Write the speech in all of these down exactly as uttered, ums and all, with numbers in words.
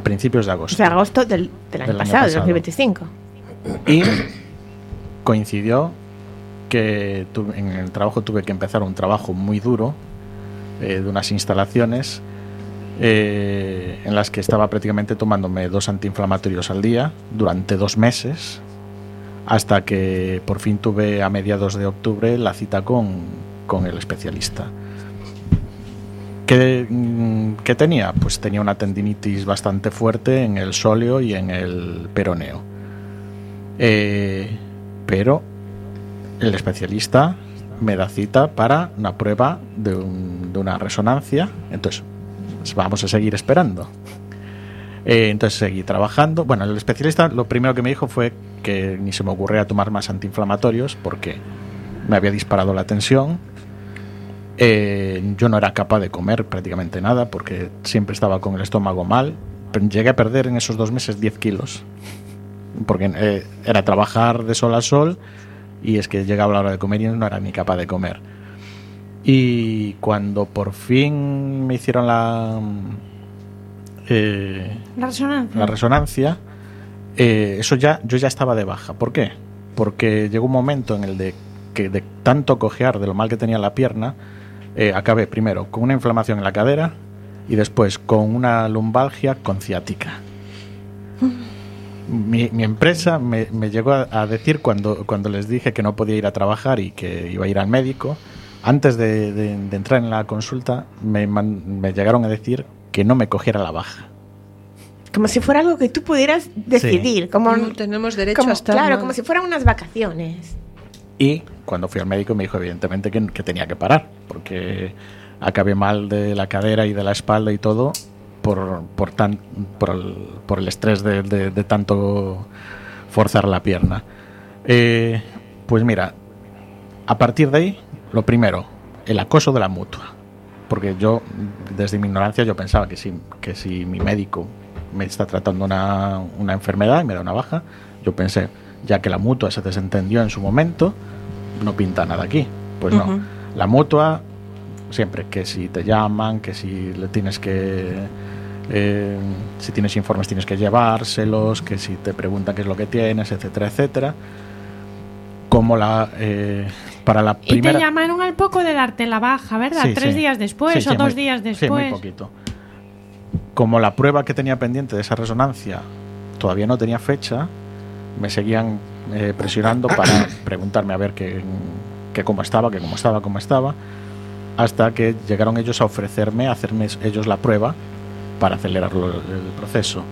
principios de agosto. O sea, agosto del, del año del pasado, año del dos mil veinticinco. Y coincidió que tu, en el trabajo tuve que empezar un trabajo muy duro eh, de unas instalaciones eh, en las que estaba prácticamente tomándome dos antiinflamatorios al día durante dos meses, hasta que por fin tuve a mediados de octubre la cita con, con el especialista. ¿Qué, ¿Qué tenía? Pues tenía una tendinitis bastante fuerte en el sóleo y en el peroneo. Eh, pero el especialista me da cita para una prueba de, un, de una resonancia. Entonces, vamos a seguir esperando. Eh, entonces seguí trabajando. Bueno, el especialista lo primero que me dijo fue que ni se me ocurría tomar más antiinflamatorios porque me había disparado la tensión. Eh, yo no era capaz de comer prácticamente nada porque siempre estaba con el estómago mal. Llegué a perder en esos dos meses diez kilos porque eh, era trabajar de sol a sol y es que llegaba la hora de comer y no era ni capaz de comer. Y cuando por fin me hicieron la eh, la resonancia, la resonancia eh, eso ya, yo ya estaba de baja. ¿Por qué? Porque llegó un momento en el de que de tanto cojear de lo mal que tenía la pierna, eh, acabé primero con una inflamación en la cadera y después con una lumbalgia con ciática. Mi, mi empresa me, me llegó a, a decir cuando, cuando les dije que no podía ir a trabajar y que iba a ir al médico, antes de, de, de entrar en la consulta me, man, me llegaron a decir que no me cogiera la baja. Como si fuera algo que tú pudieras decidir. Sí. Como, no tenemos derecho como, a estar claro, mal. como si fueran unas vacaciones. Y cuando fui al médico me dijo evidentemente que, que tenía que parar, porque acabé mal de la cadera y de la espalda y todo por, por, tan, por, el, por el estrés de, de, de tanto forzar la pierna. Eh, pues mira, a partir de ahí, lo primero, el acoso de la mutua. Porque yo, desde mi ignorancia, yo pensaba que si, que si mi médico me está tratando una, una enfermedad y me da una baja, yo pensé, ya que la mutua se desentendió en su momento, no pinta nada aquí. Pues no, uh-huh. La mutua siempre que si te llaman, que si le tienes que eh, si tienes informes tienes que llevárselos, que si te preguntan qué es lo que tienes, etcétera, etcétera. Como la eh, para la primera... Y te llamaron al poco de darte la baja, ¿verdad? Sí, Tres sí. días después sí, sí, o dos muy, días después. Sí, muy poquito. Como la prueba que tenía pendiente de esa resonancia todavía no tenía fecha, me seguían eh, presionando para preguntarme a ver que, que cómo estaba, que cómo estaba, cómo estaba, hasta que llegaron ellos a ofrecerme, a hacerme ellos la prueba para acelerar lo, el proceso.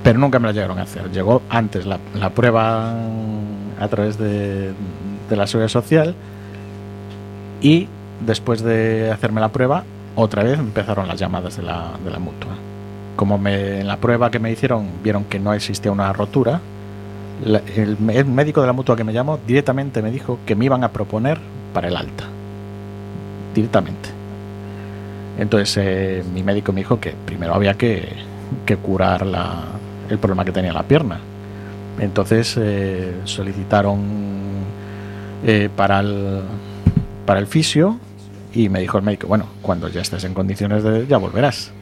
Pero nunca me la llegaron a hacer. Llegó antes la, la prueba a través de, de la Seguridad Social y después de hacerme la prueba, otra vez empezaron las llamadas de la, de la mutua. Como me, en la prueba que me hicieron vieron que no existía una rotura, la, el, el médico de la mutua que me llamó directamente me dijo que me iban a proponer para el alta. Directamente. Entonces eh, mi médico me dijo que primero había que, que curar la, el problema que tenía la pierna. Entonces eh, solicitaron eh, para el para el fisio y me dijo el médico, bueno, cuando ya estés en condiciones de ya volverás.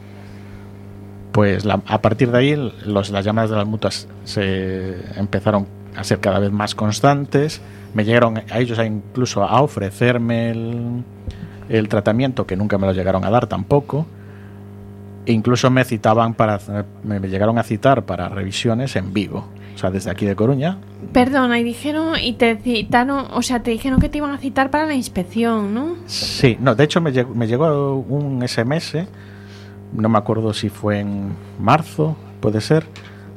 Pues la, a partir de ahí los, las llamadas de las mutuas se empezaron a ser cada vez más constantes. Me llegaron a ellos a incluso a ofrecerme el, el tratamiento, que nunca me lo llegaron a dar tampoco. E incluso me citaban para me llegaron a citar para revisiones en Vigo, o sea, desde aquí de Coruña. Perdona, y dijeron y te citaron, o sea, te dijeron que te iban a citar para la inspección, ¿no? Sí, no, de hecho me llegó, me llegó un ese eme ese, no me acuerdo si fue en marzo, puede ser,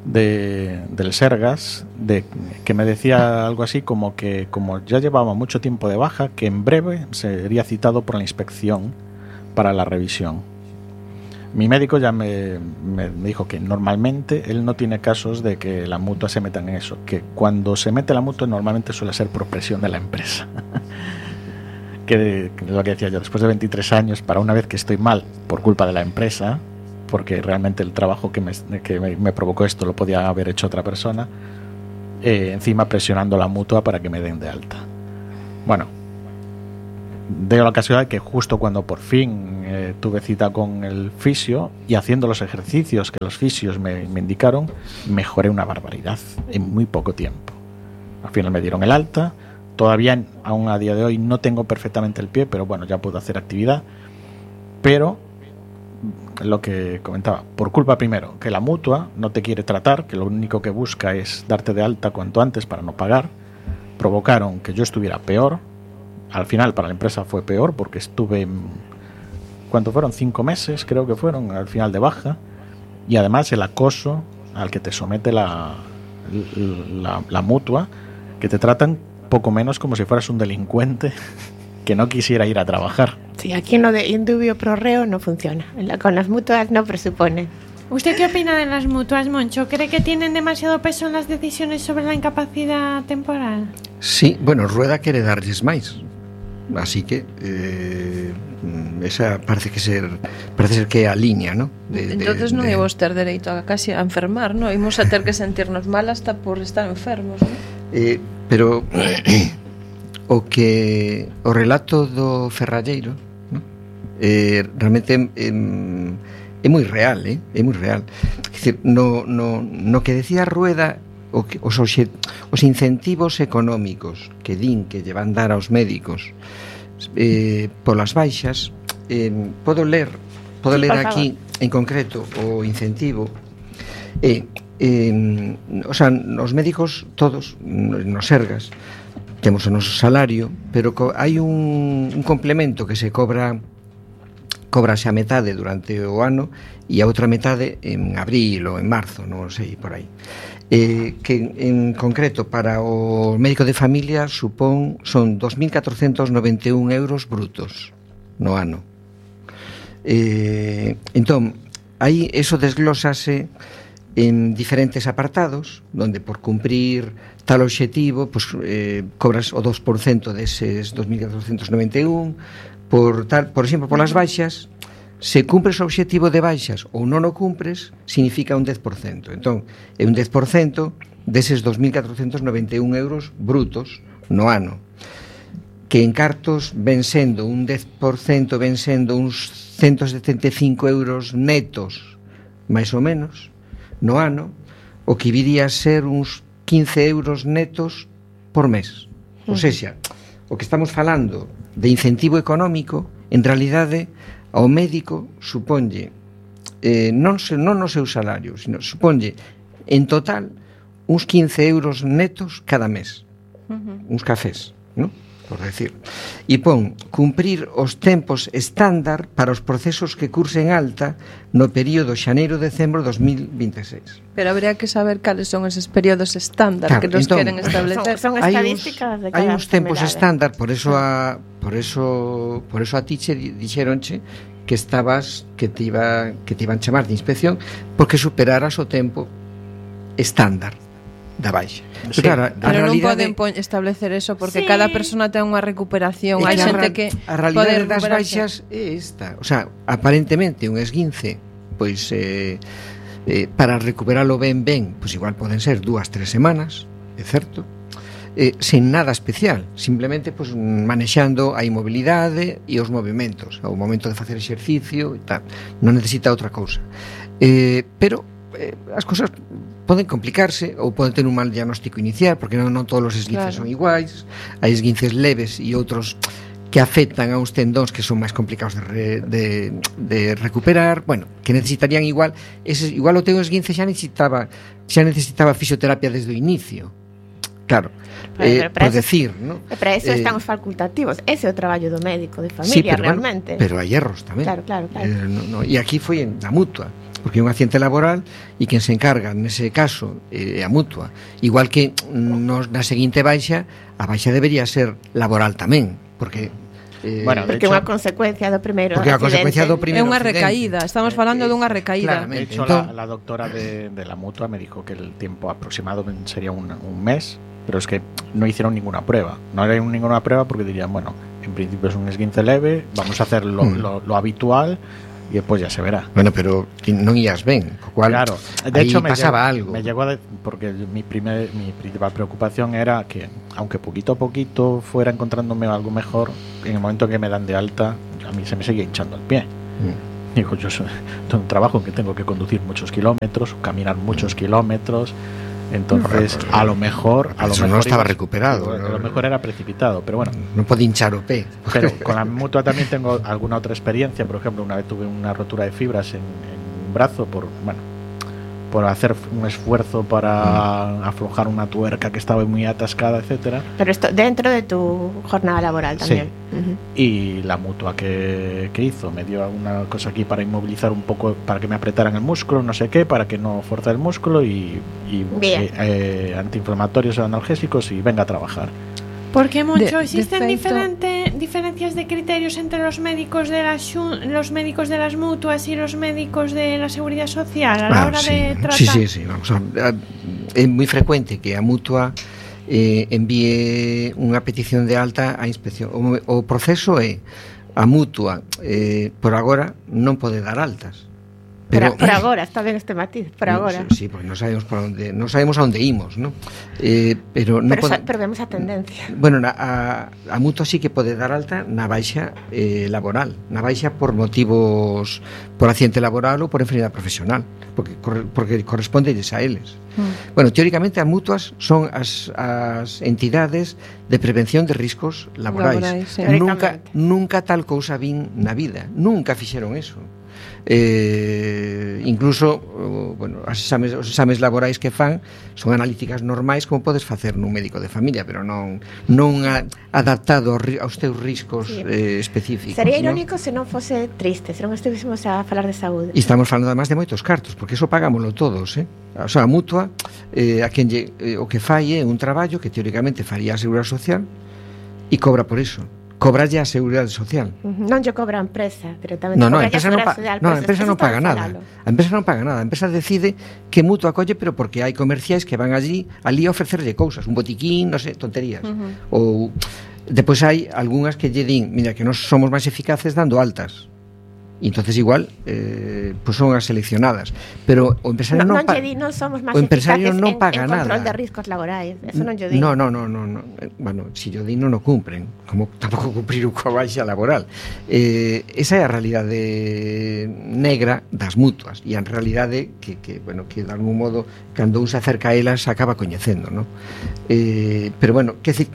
de del Sergas, de que me decía algo así como que como ya llevaba mucho tiempo de baja, que en breve sería citado por la inspección para la revisión. Mi médico ya me, me, me dijo que normalmente él no tiene casos de que la mutua se meta en eso, que cuando se mete la mutua normalmente suele ser por presión de la empresa. que, que lo que decía yo, después de veintitrés años, para una vez que estoy mal por culpa de la empresa, porque realmente el trabajo que me, que me, me provocó esto lo podía haber hecho otra persona, eh, encima presionando la mutua para que me den de alta. Bueno, de la casualidad que justo cuando por fin eh, tuve cita con el fisio y haciendo los ejercicios que los fisios me, me indicaron, mejoré una barbaridad en muy poco tiempo. Al final me dieron el alta. Todavía, aún a día de hoy, no tengo perfectamente el pie, pero bueno, ya puedo hacer actividad. Pero lo que comentaba, por culpa primero, que la mutua no te quiere tratar, que lo único que busca es darte de alta cuanto antes para no pagar, provocaron que yo estuviera peor. Al final para la empresa fue peor porque estuve, ¿cuánto fueron? Cinco meses creo que fueron al final de baja. Y además el acoso al que te somete la, la, la mutua, que te tratan poco menos como si fueras un delincuente que no quisiera ir a trabajar. Sí, aquí en lo de indubio pro reo no funciona. Con las mutuas no presupone. ¿Usted qué opina de las mutuas, Moncho? ¿Cree que tienen demasiado peso en las decisiones sobre la incapacidad temporal? Sí, bueno, Rueda quere darlles máis. Así que eh, esa parece que ser parece ser que é a liña, ¿no? De, Entonces de, non de... íbamos ter dereito a casi a enfermar, ¿no? Íbamos a ter que sentirnos mal hasta por estar enfermos, ¿no? Eh, pero o que o relato do ferralleiro, ¿no? eh, realmente eh, é moi real, eh? é moi real. É dicir, no, no, no que decía Rueda, o que, os, os incentivos económicos que din que lle van dar aos médicos eh, polas baixas, eh, podo ler podo sí, ler aquí en concreto o incentivo eh, eh, o sea, os médicos todos nos Sergas temos o noso salario, pero co, hai un, un complemento que se cobra cobrase a metade durante o ano e a outra metade en abril ou en marzo, non sei, por aí. Eh, que en concreto para o médico de familia supón son dos mil catrocentos noventa e un euros brutos no ano. Eh, entón, aí eso desglósase en diferentes apartados, donde por cumprir tal obxectivo, pues, eh, cobras o dos por cento deses dos mil catrocentos noventa e un. Por tal, por exemplo, polas baixas, se cumpres o obxectivo de baixas ou non o cumpres, significa un dez por cento. Entón, é un dez por cento deses dos mil catrocentos noventa e un euros brutos no ano, que en cartos ven sendo un dez por cento, ven sendo uns ciento setenta e cinco euros netos, máis ou menos, no ano, o que viría a ser uns quince euros netos por mes. Ou seja, o que estamos falando de incentivo económico, en realidade, ao médico suponlle eh, non, se, non no seu salario, sino suponlle en total uns quince euros netos cada mes, uh-huh. uns cafés, ¿no? Por decir. E pon cumprir os tempos estándar para os procesos que cursen alta no período xaneiro-decembro dos mil vinte e seis. Pero habría que saber cales son eses períodos estándar, claro, que nos entón, queren establecer. Son, son estadísticas de cada hai uns tempos estándar, por eso a por eso por eso a ti che dixeronche que estabas que te iba que te iban chamar de inspección porque superaras o tempo estándar da baixa. Sí, claro, pero non poden po- establecer eso porque sí. Cada persona ten unha recuperación. Hai xente que a realidade das baixas é esta, o sea, aparentemente un esguince, pois eh, eh, para recuperalo ben ben, pois igual poden ser dúas, tres semanas, é certo? Eh, sen nada especial, simplemente pois manexando a inmobilidade e os movimentos, ao momento de facer exercicio e tal. Non necesita outra cousa. Eh, pero eh, as cousas poden complicarse ou poden ter un mal diagnóstico inicial porque non, non todos os esguinces claro. Son iguais, hai esguinces leves e outros que afectan a uns tendóns que son máis complicados de, re, de, de recuperar, bueno, que necesitarían igual ese, igual o teu esguince xa necesitaba xa necesitaba fisioterapia desde o inicio, claro, eh, por decir, ¿no? Para eso eh, están os facultativos, ese é o traballo do médico de familia, sí, pero, realmente bueno, pero hai erros tamén, claro, claro, claro. Eh, no, no, e aquí foi en la mutua porque é un accidente laboral e quen se encarga nese caso é eh, a mutua, igual que nos, na seguinte baixa a baixa debería ser laboral tamén, porque eh, bueno, porque é unha consecuencia do primeiro porque a consecuencia do primeiro é unha recaída, estamos falando eh, dunha recaída. De hecho, la, la doctora de, de la mutua me dijo que el tiempo aproximado sería un, un mes, pero es que no hicieron ninguna prueba, no era ninguna prueba porque dirían, bueno, en principio es un esguince leve, vamos a hacer lo, mm. lo, lo habitual. y después ya se verá. Bueno, pero non ías ben, co cual claro, de hecho me pasaba llegó, algo. Me llegó a de, porque mi primer mi principal preocupación era que aunque poquito a poquito fuera encontrándome algo mejor, en el momento que me dan de alta, a mí se me seguía hinchando el pie. Mm. Digo, yo soy, tengo un trabajo en que tengo que conducir muchos kilómetros, caminar muchos mm. kilómetros. Entonces, no, a lo mejor a lo eso mejor no estaba iba, recuperado, a ¿no? lo mejor era precipitado, pero bueno, no podía hinchar o pé. Pero con la mutua también tengo alguna otra experiencia. Por ejemplo, una vez tuve una rotura de fibras en, en un brazo por bueno por hacer un esfuerzo para mm. aflojar una tuerca que estaba muy atascada, etcétera. Pero esto dentro de tu jornada laboral también. Sí. Uh-huh. Y la mutua que, que hizo me dio una cosa aquí para inmovilizar un poco, para que me apretaran el músculo, no sé qué, para que no forzara el músculo y, y eh, eh, antiinflamatorios o analgésicos y venga a trabajar. Porque mucho de, existen de diferente, diferencias de criterios entre los médicos de las los médicos de las mutuas y los médicos de la seguridad social a la ah, hora sí. de tratar. Sí, sí, sí, vamos a, a, é moi frecuente que a mutua eh, envíe unha petición de alta á inspección. O, o proceso é a mutua eh, por agora non pode dar altas. Pero, por, por agora, está ben este matiz, por agora. Sí, sí, porque non sabemos por onde, non sabemos a onde imos, ¿no? Eh, pero non pero, pode, sa, pero vemos a tendencia. Bueno, na, a, a mutua sí que pode dar alta na baixa eh, laboral, na baixa por motivos por accidente laboral ou por enfermedade profesional, porque porque correspondelles a eles. Mm. Bueno, teóricamente as mutuas son as, as entidades de prevención de riscos laborais. laborais sí. Nunca nunca tal cousa vin na vida, nunca fixeron eso. Eh, incluso bueno, as exames, os exames laborais que fan son analíticas normais como podes facer nun médico de familia, pero non non a, adaptado aos teus riscos sí. eh, específicos. Sería irónico ¿no? se non fose triste, se non estivéssemos a falar de saúde. E estamos falando además de moitos cartos, porque eso pagámoslo todos, eh? O sea, a mutua eh, a quen lle, eh, o que fai é un traballo que teóricamente faría a Seguridade Social e cobra por iso. Cobralle a Seguridade Social. Uh-huh. Non lle cobra a empresa directamente. No, no, a empresa non, pa- no, a empresa non paga nada. A empresa non paga nada. A empresa decide que mutua acolle, pero porque hai comerciais que van allí ali a ofrecerlle cousas, un botiquín, non sei, tonterías. Uh-huh. Ou depois hai algunhas que lle din, mira, que nós somos máis eficaces dando altas. E entonces igual eh, pues son as seleccionadas, pero o empresario no, non pa- non, di, non somos máis o empresario eficaces non paga en, en nada. control de riscos laborais, eso non yo digo. No, no, no, no, no. Bueno, si yo di non o cumpren, como tampouco cumprir unha baixa laboral. Eh, esa é a realidade negra das mutuas e a realidade que, que bueno, que de algún modo cando un se acerca a elas acaba coñecendo, ¿no? Eh, pero bueno, que decir,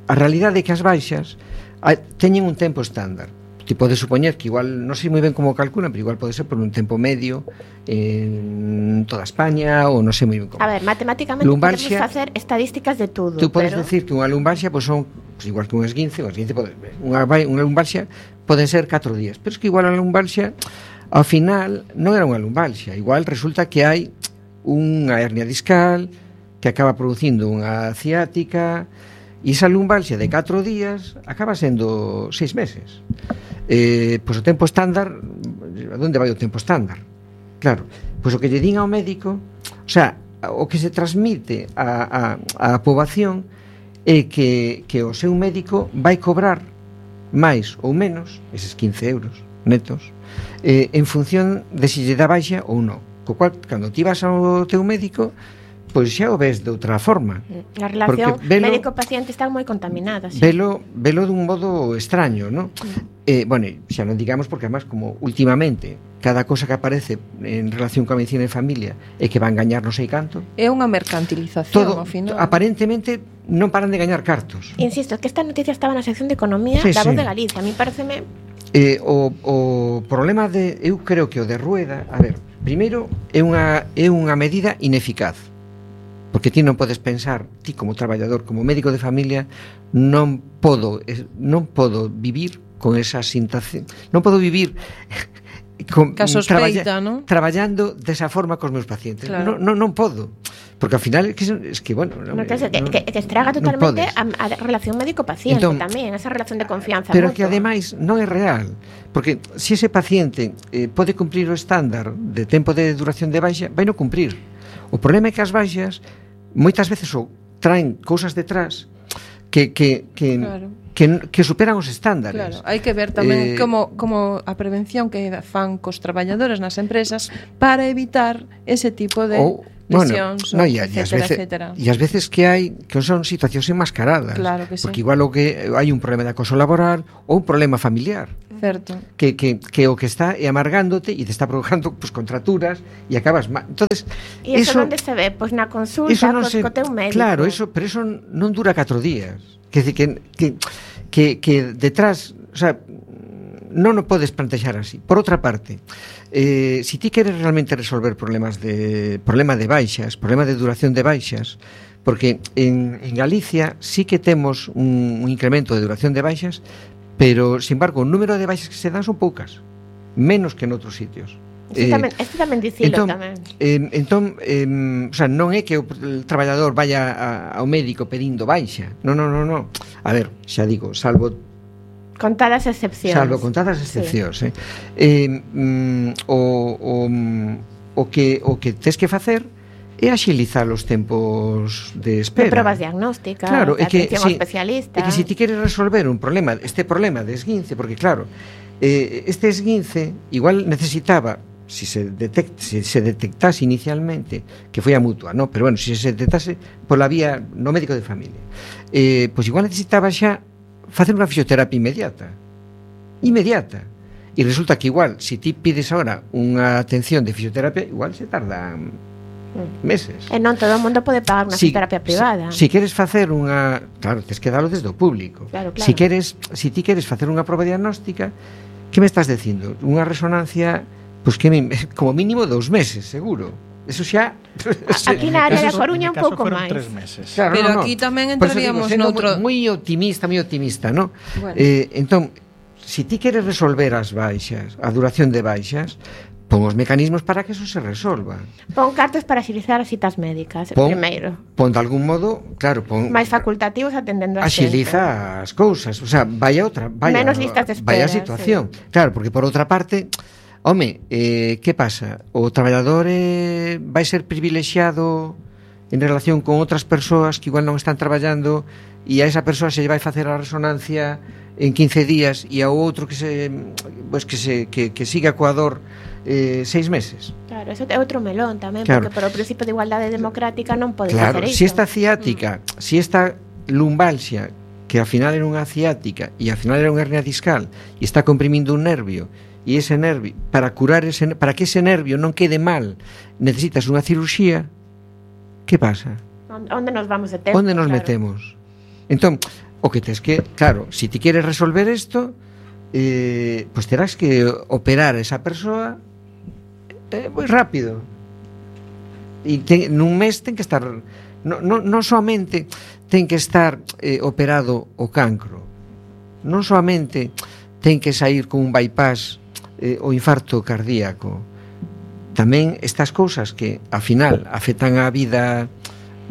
a realidade é que as baixas a, teñen un tempo estándar. Ti pode supoñer que igual, non sei moi ben como calculan, pero igual pode ser por un tempo medio en toda España ou non sei moi ben como. A ver, matemáticamente lumbalgia, podemos facer estadísticas de todo. Tú podes pero... decir que unha lumbalgia pues son pues igual que un esguince, un esguince pode, unha, unha lumbalgia poden ser catro días, pero es que igual a lumbalgia ao final non era unha lumbalgia, igual resulta que hai unha hernia discal que acaba producindo unha ciática e esa lumbalgia de catro días acaba sendo seis meses. Eh, pois o tempo estándar, a onde vai o tempo estándar? Claro, pois o que lle din ao médico, o sea, o que se transmite a, a, a poboación é que, que o seu médico vai cobrar máis ou menos, eses quince euros netos, eh, en función de se lle dá baixa ou non. Co cual, cando ti vas ao teu médico, pois xa o ves de outra forma. A relación médico-paciente está moi contaminada. Sí. Velo, velo dun modo extraño, ¿no? Mm. Eh, bueno, xa non digamos porque además como últimamente cada cosa que aparece en relación coa medicina de familia é que van gañar non sei canto. É unha mercantilización todo, ao final. Aparentemente non paran de gañar cartos. Insisto, que esta noticia estaba na sección de Economía sí, da Voz sí. de Galicia. A mí pareceme... Eh, o, o problema de... Eu creo que o de Rueda... A ver, primeiro, é unha, é unha medida ineficaz. Porque ti non podes pensar, ti como traballador, como médico de familia, non podo non podo vivir con esa sintación, non podo vivir con, traballa, ¿no? traballando desa forma cos meus pacientes. Claro. Non, non, non podo. Porque ao final é que, es que bueno, no, que, no, que, que estraga totalmente a, a relación médico-paciente entón, tamén, esa relación de confianza. Pero mutua. Que ademais non é real, porque se ese paciente eh, pode cumprir o estándar de tempo de duración de baixa, vai non cumprir. O problema é que as baixas moitas veces o traen cousas detrás que, que, que, claro. que, que superan os estándares. Claro, hai que ver tamén Eh, como, como a prevención que fan cos traballadores nas empresas para evitar ese tipo de ou, lesións, bueno, no, ou e, a- e as etcétera, veces, etcétera. e as veces que hai que son situacións enmascaradas, Claro que sí. porque igual o que hai un problema de acoso laboral ou un problema familiar, Certo. que, que, que o que está é amargándote e te está provocando pues, contraturas e acabas mal. Entonces, E iso onde se ve? Pois na consulta, eso non cos, se, co teu médico. claro, eso, pero eso non dura catro días. Que decir que que que, que detrás, o sea, non o podes plantexar así. Por outra parte, eh, si ti queres realmente resolver problemas de problema de baixas, problema de duración de baixas, porque en, en Galicia sí que temos un, un incremento de duración de baixas, pero, sin embargo, o número de baixas que se dan son poucas, menos que en outros sitios. Este tamén, este tamén dicilo entón, tamén. Eh, entón, eh, o sea, non é que o el traballador vaya a, ao médico pedindo baixa. Non, non, non, non. A ver, xa digo, salvo Contadas excepcións. salvo contadas excepcións, sí. eh. Eh, mm, o, o, o que o que tes que facer é axilizar os tempos de espera. De probas diagnósticas, claro, de é que, atención ao si, especialista. é que si ti queres resolver un problema, este problema de esguince, porque claro, eh, este esguince igual necesitaba, si se, detect, si se detectase inicialmente que foi a mutua, no? Pero bueno, si se detectase pola vía no médico de familia, eh, pois igual necesitaba xa facer unha fisioterapia inmediata. Inmediata. E resulta que igual, si ti pides ahora unha atención de fisioterapia, igual se tarda meses. E non todo o mundo pode pagar unha Si- fisioterapia privada. Si, si queres facer unha, claro, tes que dalo desde o público. Claro, claro. Si queres, si ti queres facer unha proba diagnóstica, que me estás dicindo? Unha resonancia, pois pues que mi- como mínimo dous meses, seguro. Eso xa Aquí na área da En mi caso- Coruña en mi un caso pouco fueron máis. tres meses. Claro, Pero no, no. aquí tamén Por eso digo, entraríamos sendo noutro- moi optimista, moi optimista, ¿no? Bueno. Eh, entón, si ti queres resolver as baixas, a duración de baixas, pon os mecanismos para que eso se resolva. Pon cartas para axilizar as citas médicas, Pon, primeiro. pon de algún modo, claro, pon Máis facultativos atendendo a xente. axiliza as cousas, o sea, vaya outra, vaya, Menos listas de espera, vaya situación. Sí. Claro, porque por outra parte, home, eh, que pasa? O traballador eh, vai ser privilexiado en relación con outras persoas que igual non están traballando e a esa persoa se lle vai facer a resonancia en quince días e ao outro que se pues que se que, que siga coa dor eh, seis meses. Claro, eso é outro melón tamén, Claro. porque por o principio de igualdade democrática non podes Claro, facer iso. si esta ciática, mm. si esta lumbalgia, que ao final era unha ciática e ao final era unha hernia discal e está comprimindo un nervio, e ese nervio, para curar ese, para que ese nervio non quede mal, necesitas unha cirurxía. Que pasa? Onde nos vamos de tempo? Onde nos claro. metemos? Entón, o que tes que, claro, si ti queres resolver isto, eh, pues terás que operar a esa persoa eh, moi rápido. E ten, nun mes ten que estar non no, no soamente ten que estar eh, operado o cancro, non soamente ten que sair con un bypass eh, o infarto cardíaco, tamén estas cousas que ao final afectan a vida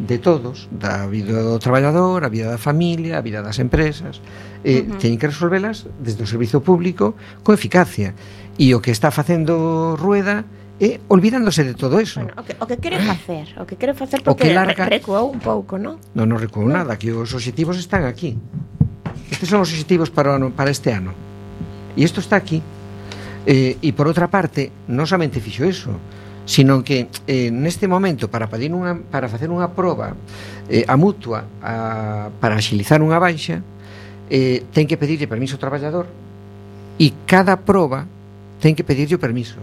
de todos, da vida do traballador, a vida da familia, a vida das empresas, eh, uh-huh. teñen que resolvelas desde o servizo público con eficacia. E o que está facendo Rueda é olvidándose de todo eso. Bueno, o que, o que quere facer, o que quere facer O que porque larga- re- recuou un pouco, non? Non nos recuo nada, que os obxectivos están aquí. Estes son os obxectivos para, o ano- para este ano. E isto está aquí. Eh, e por outra parte, non somente fixo eso, sino que eh, neste momento para pedir unha, para facer unha proba eh, a mutua a, para axilizar unha baixa, eh, ten que pedirlle permiso ao traballador e cada proba ten que pedirlle o permiso.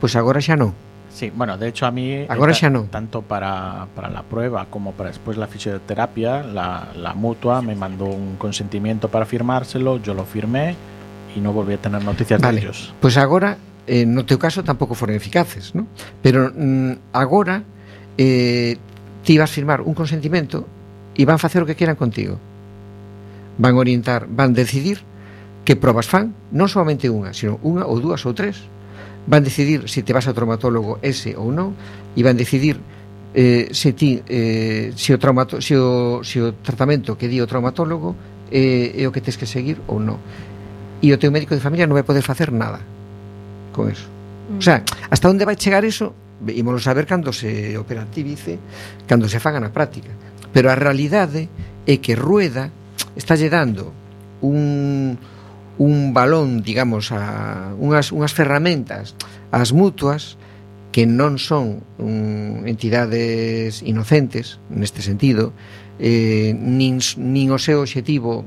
Pois agora xa non. Sí, bueno, de hecho a mí Agora eh, xa non. tanto para, para la prueba como para después la fisioterapia, la, la mutua me mandó un consentimiento para firmárselo, yo lo firmé y no volví a tener noticias Vale, de ellos. pois agora eh, no teu caso tampouco foron eficaces, ¿no? Pero mm, agora eh, ti vas firmar un consentimento e van facer o que quieran contigo. Van orientar, van decidir que probas fan, non solamente unha, sino unha ou dúas ou tres. Van decidir se te vas ao traumatólogo ese ou non, e van decidir eh, se ti eh, se o traumato, se o, se o tratamento que di o traumatólogo eh, é o que tes que seguir ou non. E o teu médico de familia non vai poder facer nada con eso. Mm. O sea, hasta onde vai chegar eso, ímolo saber cando se operativice, cando se faga na práctica. Pero a realidade é que Rueda está lle dando un, un balón, digamos, a unhas, unhas ferramentas ás mutuas que non son um, entidades inocentes neste sentido, eh, nin, nin o seu obxectivo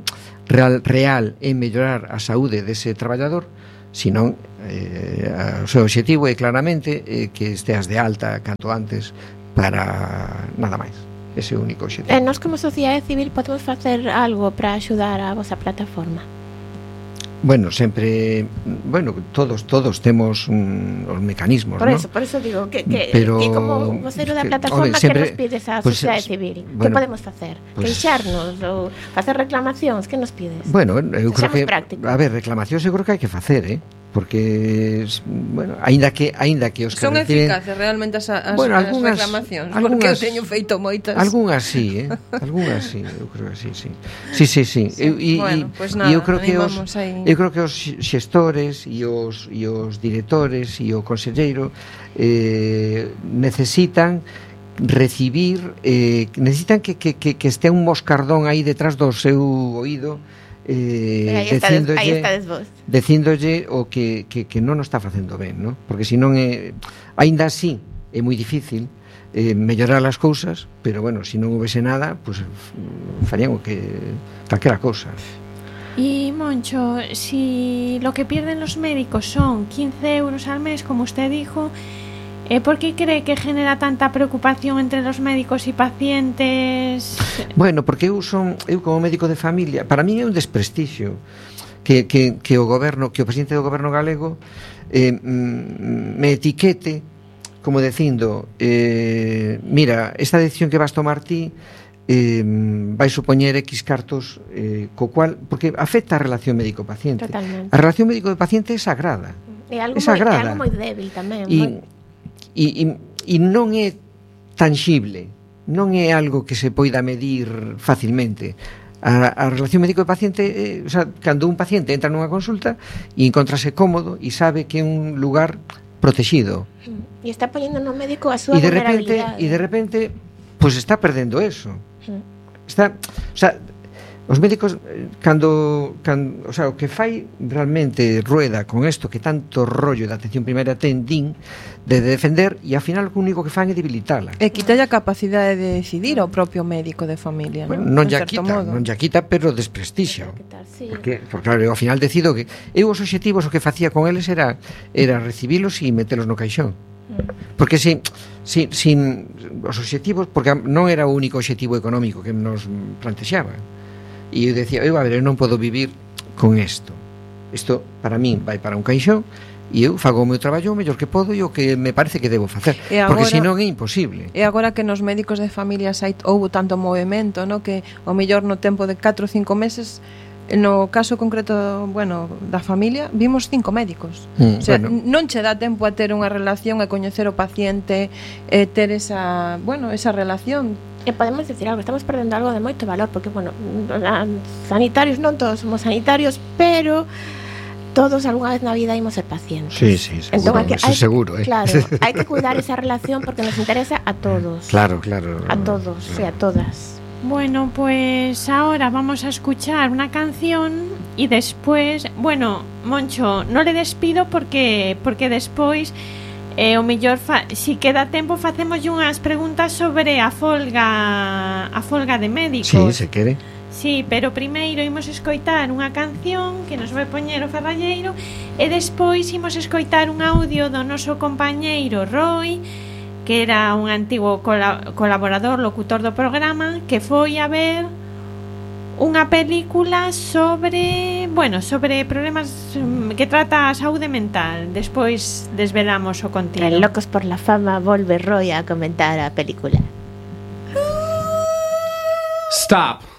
real, real é mellorar a saúde dese traballador, senón eh, o seu obxectivo é claramente eh, que esteas de alta canto antes para nada máis. Ese é o único obxectivo. E nós como sociedade civil podemos facer algo para axudar a vosa plataforma? Bueno, sempre, bueno, todos todos temos un, os mecanismos, por ¿no? eso, por eso digo que, que, Pero, que como vocero da plataforma que, hombre, que nos pides á pues, sociedade civil? bueno, que podemos facer? Pues, Queixarnos ou facer reclamacións? Que nos pides? Bueno, eu creo que prácticos. A ver, reclamacións eu creo que hai que facer, eh? Porque bueno, aínda que aínda que os que son reciben, eficaces realmente as, as, bueno, as algunhas, reclamacións, algunhas, porque eu teño feito moitas. Algunhas sí, eh? Algunhas sí, eu creo que sí, sí. Sí, sí, sí. sí. Eu, e, bueno, pues nada, eu creo que os aí. eu creo que os xestores e os e os directores e o conselleiro eh necesitan recibir eh necesitan que que que que estea un moscardón aí detrás do seu oído. Eh, dicíndolle, dicíndolle o que, que, que non o está facendo ben, ¿no? Porque se non é, aínda así é moi difícil eh, mellorar as cousas, pero bueno, se non houvese nada, pues farían o que calquera cousa. Y Moncho, si lo que pierden los médicos son quince euros al mes, como usted dijo, Eh, ¿por qué cree que genera tanta preocupación entre los médicos y pacientes? Bueno, porque eu son, eu como médico de familia, para mí é un desprestixio que, que, que o goberno, que o presidente do goberno galego eh, me etiquete como dicindo eh, mira, esta decisión que vas tomar ti eh, vai supoñer X cartos eh, co cual, porque afecta a relación médico-paciente. Totalmente. A relación médico-paciente é sagrada. É algo, é sagrada. Moi, é algo moi débil tamén. E, moi... E, e, e non é tangible, non é algo que se poida medir facilmente. A, a relación médico-paciente, eh, o sea, cando un paciente entra nunha consulta e encontrase cómodo e sabe que é un lugar protegido. E está poñendo no médico a súa e de repente, vulnerabilidade. E de repente, pois pues está perdendo eso. Está, o sea, os médicos cando, cando, o sea, o que fai realmente Rueda con isto que tanto rollo da atención primaria ten din de defender e ao final o único que fan é debilitala. E quita a capacidade de decidir ao propio médico de familia, bueno, non? Non ya quita, modo. non ya quita, pero desprestixia. Sí. Porque, porque claro, ao final decido que eu os obxectivos o que facía con eles era era recibilos e metelos no caixón. Porque sin, sin, sin os obxectivos, porque non era o único obxectivo económico que nos plantexaba. E eu decía, eu, a ver, eu non podo vivir con isto. Isto, para min, vai para un caixón e eu fago o meu traballo o mellor que podo e o que me parece que debo facer. Agora, porque senón é imposible. E agora que nos médicos de familia hai, houve tanto movimento, no, que o mellor no tempo de catro ou cinco meses, no caso concreto, bueno, da familia, vimos cinco médicos. Mm, o sea, bueno. non che dá tempo a ter unha relación, a coñecer o paciente, e ter esa, bueno, esa relación. E podemos decir algo, estamos perdendo algo de moito valor, porque, bueno, sanitarios non todos somos sanitarios, pero todos algunha vez na vida imos ser pacientes. Sí, sí, seguro, entón, hai que, hai, seguro, eh. Claro, hai que cuidar esa relación porque nos interesa a todos. Claro, claro. A todos, claro. Sí, a todas. Bueno, pues ahora vamos a escuchar una canción y después, bueno, Moncho, no le despido porque porque despois eh, o mellor fa, si queda tempo facemos unhas preguntas sobre a folga a folga de médicos. Sí, se quere. Sí, pero primeiro imos escoitar unha canción que nos vai poñer o Ferralleiro e despois imos escoitar un audio do noso compañeiro Roy, que era un antigo colaborador, locutor do programa, que foi a ver unha película sobre, bueno, sobre problemas que trata a saúde mental. Despois desvelamos o contido. En Locos por la Fama volve Roy a comentar a película. Stop.